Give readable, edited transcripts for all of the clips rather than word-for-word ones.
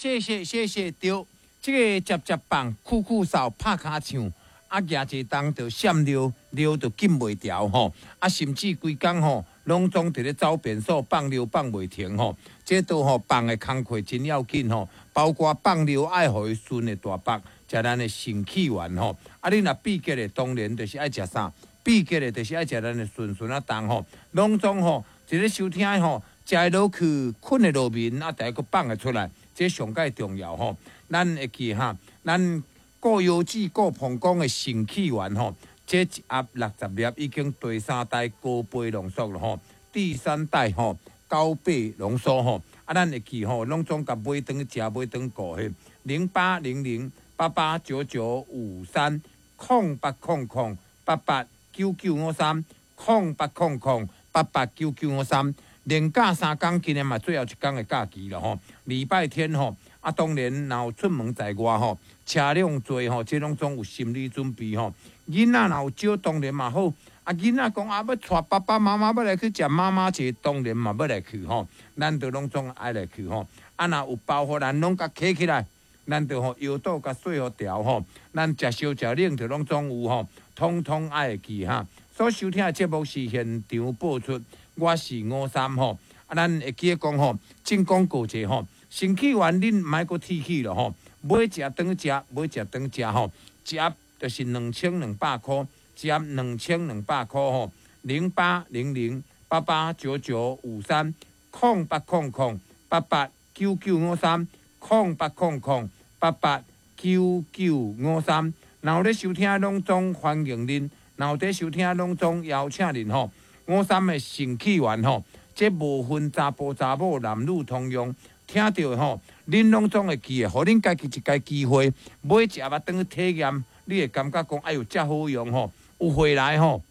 謝謝謝謝，對，這个接接棒、酷酷掃、拍跤唱，啊，舉一個重就閃尿，尿就禁袂牢吼，啊，甚至規工吼，攏總佇咧走便所放尿放袂停吼，這都吼放的工課真要緊吼，包括放尿愛予伊順的大腹，食咱的腎氣丸吼，啊，你若秘結的當然就是愛食啥？秘結的就是愛食咱的順順仔重吼，攏總吼，一个收聽的吼，食會落去，睏會落眠，啊，逐个閣放會出來。這上蓋重要吼，咱會記哈，咱顧腰子、顧膀胱的腎氣丸吼，這一盒60粒已經第三代高倍濃縮了吼，第三代吼高倍濃縮吼，啊，咱會記吼，攏總共買轉去食，買轉去顧嘿，0800889953，0800889953，0800889953。連假三工，今日嘛最後一工的假期了吼。禮拜天吼，啊，當然若有出門在外吼，車輛濟吼，這攏總有心理準備吼。囡仔若有招，當然嘛好。啊，囡仔講啊，欲帶爸爸媽媽欲來去食媽媽節，當然嘛欲來去吼。咱就攏總愛來去吼。啊，若有包袱，咱攏共揢起來，咱就吼腰肚共洗予牢吼。咱食燒食冷就攏總有吼，通通愛會記哈。所收聽的節目是現場播出。我是吳三吼，啊，咱會記得講吼，進廣告者吼，腎氣丸恁毋愛閣鐵齒了吼，買食轉去食，買食轉去食吼，一盒就是2200箍，一盒2200箍吼，0800889953，0800889953，0800889953，若有咧收聽攏總歡迎恁，若有佇收聽攏總邀請恁吼。吳三的腎氣丸吼，這無分查埔查某，男女通用。聽著的吼，恁攏總會記得，予恁家己一个機會，買一盒仔轉去體驗，你會感覺講，哎喲，遮好用吼，有回來吼，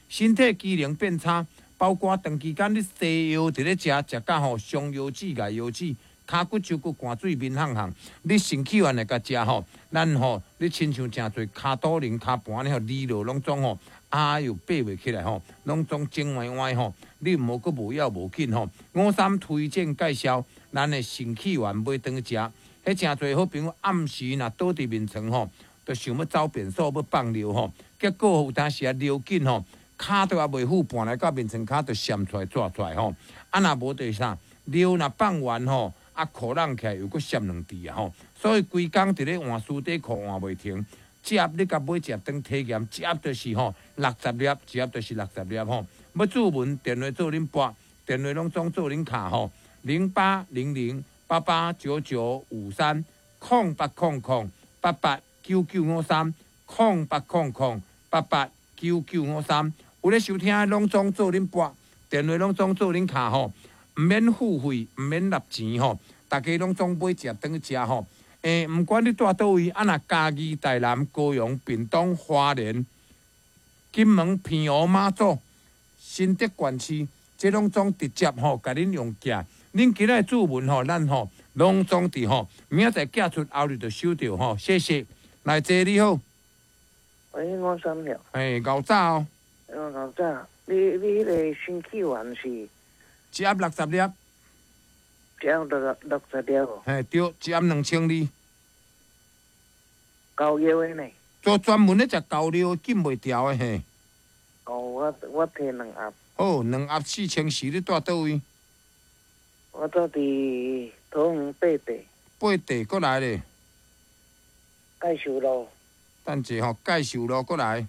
身體機能變差，包括長期間你西藥佇咧食，食甲吼傷腰子、礙腰子，跤骨、手骨寒水面烘烘，你腎氣丸會共食吼，咱吼，你親像誠濟跤肚輪、跤盤咧吼，離落攏總吼。啊喲，爬袂起來吼，攏總整歪歪吼，你毋好閣無要無緊吼。吳三推薦介紹，咱的腎氣丸買轉去食，彼誠濟好朋友暗時若倒佇眠床吼，就想欲走便所欲放尿吼，結果有當時啊尿緊吼，跤都猶未赴盤來到眠床跤就閃出來逝出來吼。啊若無就是啥，尿若放完吼，啊褲攏起來又閣閃兩滴啊吼，所以規工佇咧換絲短褲換袂停。一盒你共買一盒轉體驗，一盒就是吼六十粒，一盒就是六十粒吼。欲注文電話做恁撥，電話攏總做恁敲吼。0800889953，0800889953，0800889953。有咧收聽攏總做恁撥，電話攏總做恁敲吼。毋免付費，毋免納錢吼，逐家攏總買一盒轉去食吼。欸，毋管你蹛佗位，啊若嘉義、台南、高雄、屏東、花蓮、金門、澎湖、馬祖、新竹縣市，這攏總直接吼，共恁用寄。恁今仔注文吼，咱吼攏總佇吼，明仔載寄出，後日就收著吼。謝謝，來坐你好。喂，吳三了。欸，𠢕早哦。哦，𠢕早，你彼个腎氣丸是？一盒六十粒。一盒60粒哦。嘿，對，一盒2200。高尿的呢？做專門咧食高尿禁袂牢的嘿。哦，我提兩盒。好，兩盒4400，你蹛佗位？我蹛佇桃園八地。八地閣來咧。介壽路。等者吼，介壽路閣來。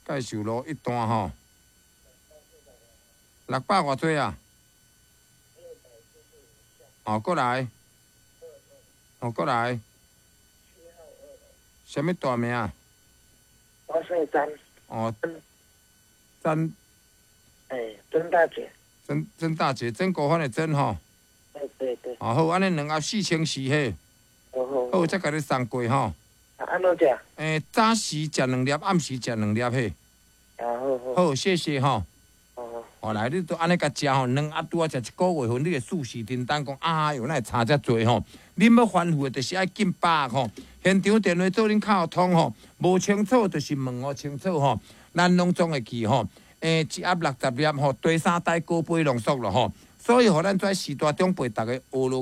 介壽路一段吼。六百偌濟啊？哦，閣來。哦，閣來。啥物大名？我姓曾。哦，曾。欸，曾大姐。曾大姐，曾國藩的曾吼。對對對。哦好，按呢兩盒4400嘿。好好。好，才共你送過吼。啊，按怎食？欸，早時食兩粒，暗時食兩粒嘿。啊，好好。好，謝謝吼。哦。哦，來，你都按呢共食吼，兩盒拄仔食一個月份，你會四時叮當講，啊喲，哪會差遮濟吼？恁欲反覆的，就是愛緊把握吼。現場電話做恁敲通吼，無清楚就是問予清楚吼。咱攏總會記吼，欸，一盒六十粒吼，第三代高倍濃縮咯吼。所以，予咱遮序大長輩逐家學落。